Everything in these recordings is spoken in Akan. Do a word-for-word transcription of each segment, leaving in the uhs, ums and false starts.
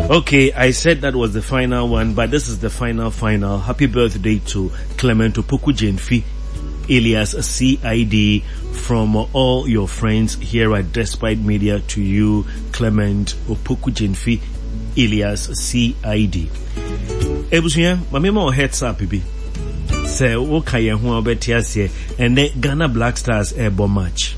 Okay, I said that was the final one, but this is the final final. Happy birthday to Clement Opoku Jenfi, alias C I D, from all your friends here at Despite Media to you, Clement Opoku Jenfi, alias C I D. Ebusua, mame ma heads up bi. Sɛ woka yɛn ho a wobɛte aseɛ, ɛnɛ Ghana Black Stars ɛrebɔ match.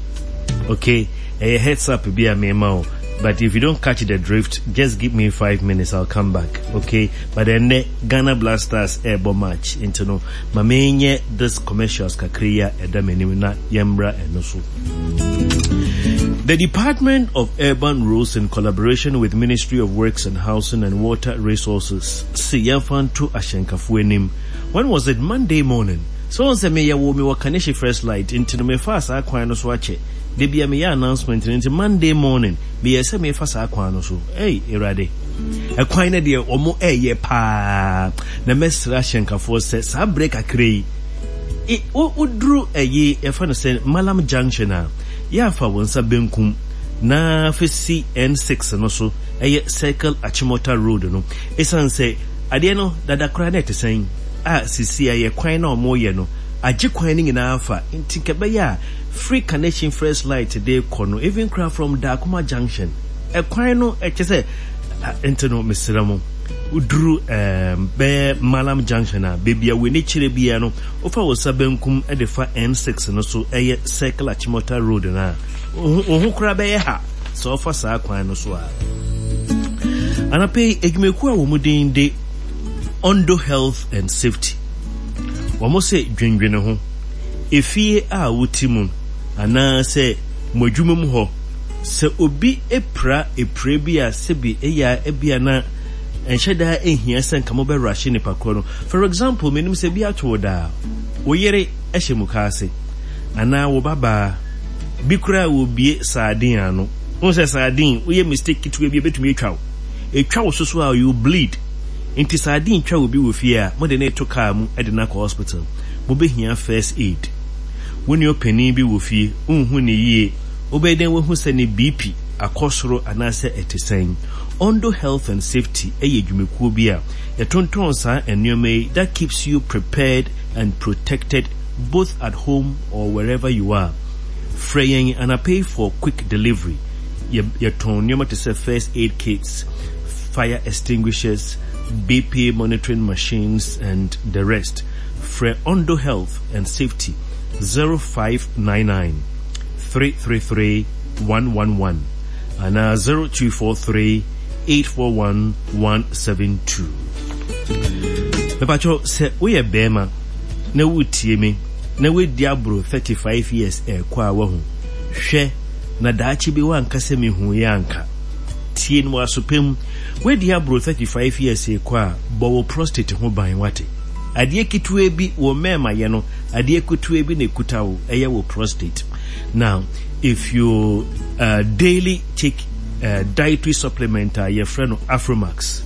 Okay, ɛyɛ heads up bi a mema wo. But if you don't catch the drift, just give me five minutes, I'll come back. Okay? But then Ghana Black Stars ɛrebɔ match. Nti no, ma menyɛ this commercials kakra yi a ɛda m'anim na yɛmmra ɛno so. The Department of Urban Roads, in collaboration with Ministry of Works and Housing and Water Resources, se yɛmfa nto ahyɛnkafoɔ anim. When was it? Monday morning. So on sɛ meyɛ wɔ mewɔ Kaneshie First Light, nti no mefa saa kwan no so akyɛ. Da bia meyɛ announcement no, nti Monday morning meyɛ sɛ mefa saa kwan no so. Hey, Awurade. Ɛkwan no deɛ ɔmo ɛyɛ paa. Na mɛsrɛ ahyɛnkafoɔ sɛ saa berɛ kakra yi, woduru ɛyi yɛfa no sɛ Malam Junction a, yɛafa wo nsa benkum na fesi N six no so, ɛyɛ Circle Achimota Road no, ɛsiane sɛ adeɛ no dada koraa na ɛte sɛn a sisi a yɛ kwan na ɔmo yɛ no agye kwan no nyinaa fa, nti nka ɛbɛyɛ a free Connection First Light de kɔ no, even kora from Dakoma Junction, ɛkwan no ɛkyɛ sɛ nti no mesrɛ mo, woduru um, bɛyɛ Malam Junction a, baabi a w'ani kyerɛ biara no, wofa wo nsa benkum de fa N six no so, ɛyɛ Circle Achimota Road no a, wo ho koraa bɛyɛ ha sɛ ɔfa saa kwan no so a. Anapɛ yi, adwumakuo a wɔn din de Ondo Health and Safety, wɔn sɛ dwendwene ho, efie a wote mu anaasɛ mo adwuma mu hɔ, sɛ obi epira epira bi a, sɛbi ɛyɛ a ebia na ɛnhyɛ daa ehia sɛ nka mobɛrahye nipa korɔ no. For example, menim sɛ bi ato wo daa, wo yere hyɛ mu kaase anaa wo babaa bi koraa wɔbie sardine ano. Wohu sɛ sardine, woyɛ mistake ketewa bi a, ebɛtumi atwa wo, etwa wo soso a, you bleed. Nti sardine twa obi wɔ fie a, mode ne to kaa mu de no akɔ hospital, mobɛhia first aid. Wo ne ɔpanin bi wɔ fie, wonhu ne yie, wobɛyɛ dɛn wahu sɛ ne B P akɔ soro anaasɛ ɛte sɛn? Ondo Health and Safety ɛyɛ dwumakuo bi a yɛtontɔn saa nneɛma yi that keeps you prepared and protected both at home or wherever you are. Frɛ yɛn anapɛ for quick delivery. Yɛtɔn nneɛma te sɛ first aid kits, fire extinguishers, B P monitoring machines and the rest. Frɛ Ondo Health and Safety zero five nine nine three three three one one one anaa zero two four three eight four one one seven two. Mepakyɛw, sɛ woyɛ bɛrima na wotie me na woadi aboro thirty-five years ɛrekɔ a, wahu hwɛ na daakye bi woanka sɛ mehu yɛ anka tie no wɔ mu. Woadi aboro thirty-five years ɛrekɔ a, bɔ wo prostate ho ban. Wate adeɛ ketewa bi wɔ mmarima yɛ no, adeɛ ketewa bi na ekuta wo, ɛyɛ wo prostate. Now, if you uh, daily take uh, dietary supplement a yɛfrɛ no Afromax,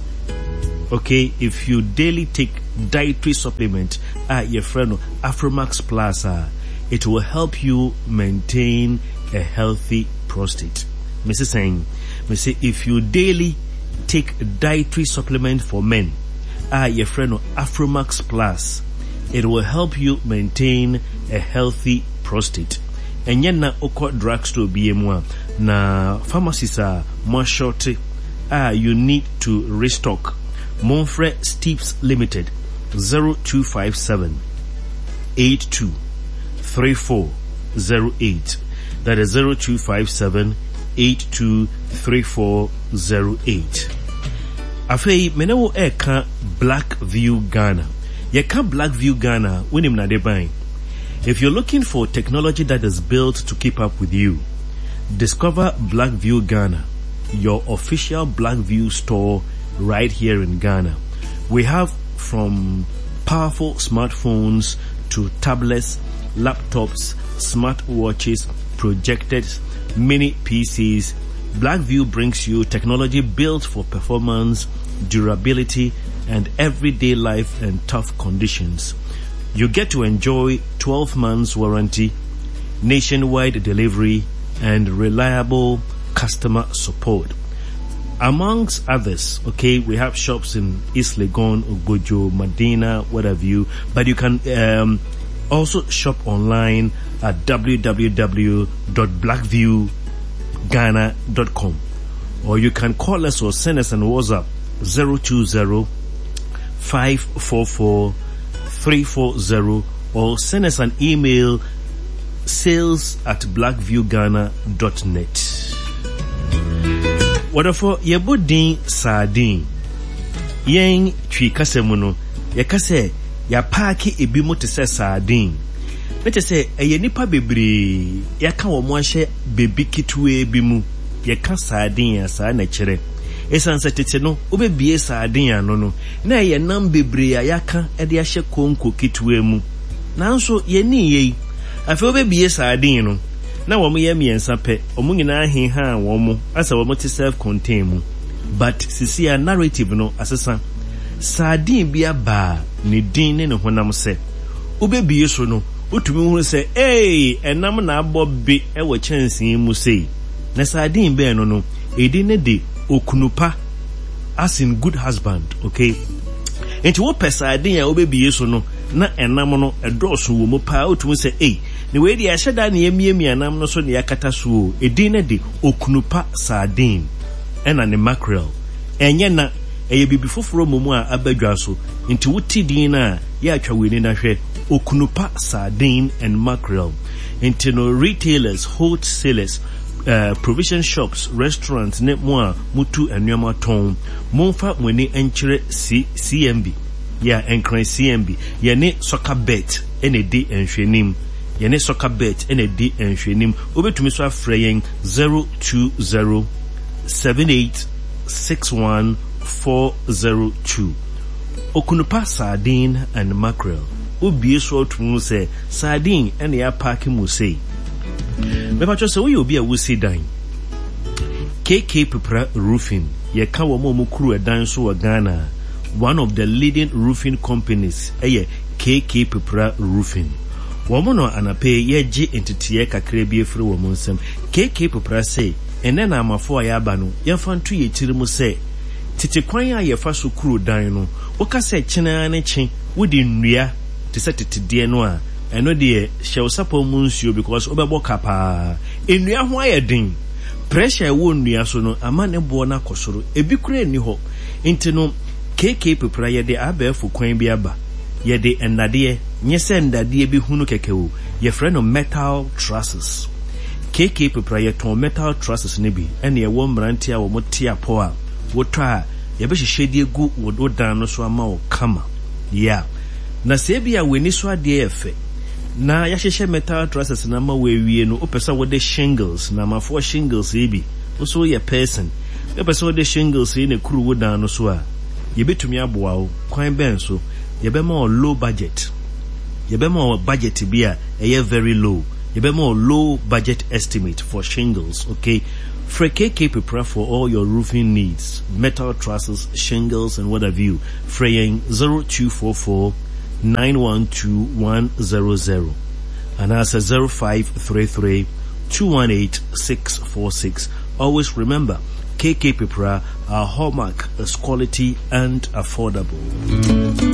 okay, if you daily take dietary supplement a yɛfrɛ no Afromax Plus uh, it will help you maintain a healthy prostate. Missus Saying, Missus If you daily take dietary supplement for men a yɛfrɛ no Afromax Plus, it will help you maintain a healthy prostate. Ɛnyɛ na wokɔ drugstore bi mu a na pharmacies a mo ashort a you need to restock, momfrɛ Steeps Limited zero two five seven eight two three four zero eight. That is zero two five seven eight two three four zero eight. Afei me ne wo ɛka Black View Ghana. Yɛka Black View Ghana, wonim nade ban. If you're looking for technology that is built to keep up with you, discover Blackview Ghana, your official Blackview store right here in Ghana. We have from powerful smartphones to tablets, laptops, smartwatches, projectors, mini P Cs. Blackview brings you technology built for performance, durability, and everyday life and tough conditions. You get to enjoy twelve months warranty, nationwide delivery, and reliable customer support. Amongst others, okay, we have shops in East Legon, Ogbojo, Madina, what have you. But you can um, also shop online at w w w dot blackviewghana dot com or you can call us or send us an WhatsApp zero two zero five four four three four zero or send us an email sales at blackviewghana dot net. Wɔdɔfo, yɛbɔ din sardine. Yɛn Twi kasa mu no, yɛka sɛ yɛapaake ebi mu te sɛ sardine. Ne kyɛ sɛ ɛyɛ nipa bebree yɛaka wɔn ahyɛ bebi ketewa bi mu. Yɛka sardine a, saa na kyerɛ. Ɛsiane sɛ tete no, wobɛbie sardine ano no, na ɛyɛ nam bebree a yɛaka de ahyɛ konko ketewa mu. Nanso yɛni yɛ yi, afei wobɛbie sardine no, na wɔn yɛ mmiɛnsa pɛ, wɔn nyinaa hehaa wɔn mo asɛ wɔn te self contain mu. But sisi a narrative no asesa. Sardine bi aba a ne din ne ne honam sɛ wobɛbie so no, wotumi hunu sɛ ee, ɛnam na abɔ be ɛwɔ kyɛnsee mu sei. Na sardine bɛn no no edi ne de Okunupa, as in good husband, okay? Nti wopɛ sardine a wobɛbie so no na ɛnam no ɛdɔɔso wɔ mu paa, wotumi sɛ ei, na wei deɛ ɛhyɛ da ne yɛmiamia nam no so ne yɛakata so o. Edin no de Okunupa sardine ɛna ne mackerel. Ɛnyɛ na ɛyɛ biribi foforɔ mmom a aba dwa so. Nti wote din no a, yɛ atwa w'ani na hwɛ Okunupa sardine and mackerel. Nti no retailers, wholesalers, uh, provision shops, restaurants ne mo a mutu nneɛma tɔn, momfa mo ani nkyerɛ C CMB yɛ Nkran C M B. Yɛne Soccer Bet ɛna ɛdi nhwɛnim. Yɛne Soccer Bet ɛna ɛdi nhwɛnim. Wobɛtumi so afrɛ yɛn zero two zero seven eight six one four zero two. Okunupa sardine and mackerel, wobie so atumi sɛ sardine ɛna yɛapaake mu sei. Mepatwɛ sɛ woyɛ obi a wosi dan, K K Pepra Roofing, yɛka wɔn a wɔn kuru ɛdan so wɔ Ghana, one of the leading roofing companies ɛyɛ K K Pepra Roofing. Wɔn no anapɛ yɛgye nteteɛ kakra bi efiri wɔn nsam. K K Pepra sɛ ɛnɛ na amafo a yɛaba no, yɛmfa nto yɛ tiri mu sɛ tete kwan a yɛfa so kuru dan no, woka sɛ kyenaa ne kye wode nnua te sɛ tetedeɛ no a, ɛno deɛ hyɛ wo sapɔ mu nsuo because wobɛbɔ ka paa. Nnua ho ayɛ den, pressure ɛwɔ nnua so no ama ne boɔ no akɔ soro, ebi kura nni hɔ. Nti no K K Pepra yɛde abɛɛfo kwan bi aba. Yɛde nnadeɛ, nyɛ sɛ nnadeɛ bi hunu kɛkɛ o, yɛfrɛ no metal trusses. K K Pepra yɛtɔn metal trusses no bi, ɛna ɛwɔ mmeranteɛ a wɔn te apɔ a wotɔ a yɛbɛhyehyɛ de egu wo dan no so ama wo kama. Yeah, na sɛ ebi a w'ani so adeɛ yɛ fɛ na yɛahyehyɛ metal trusses no ama wo awie no, wopɛ sɛ wode shingles na amafoɔ shingles yi bi, wo so woyɛ person, wopɛ sɛ wode shingles yi na kuru wo dan no so a, yɛbɛtumi aboa wo. Kwan bɛn so? Yɛbɛma wo low budget. Yɛbɛma wo budget bi a ɛyɛ very low. Yɛbɛma wo low budget estimate for shingles, okay? Frɛ K K Pepra for all your roofing needs, metal trusses, shingles and what have you. Frɛ yɛn zero two four four nine one two one zero zero anaasɛ zero five three three two one eight six four six. Always remember, K K Pepra, our hallmark is quality and affordable.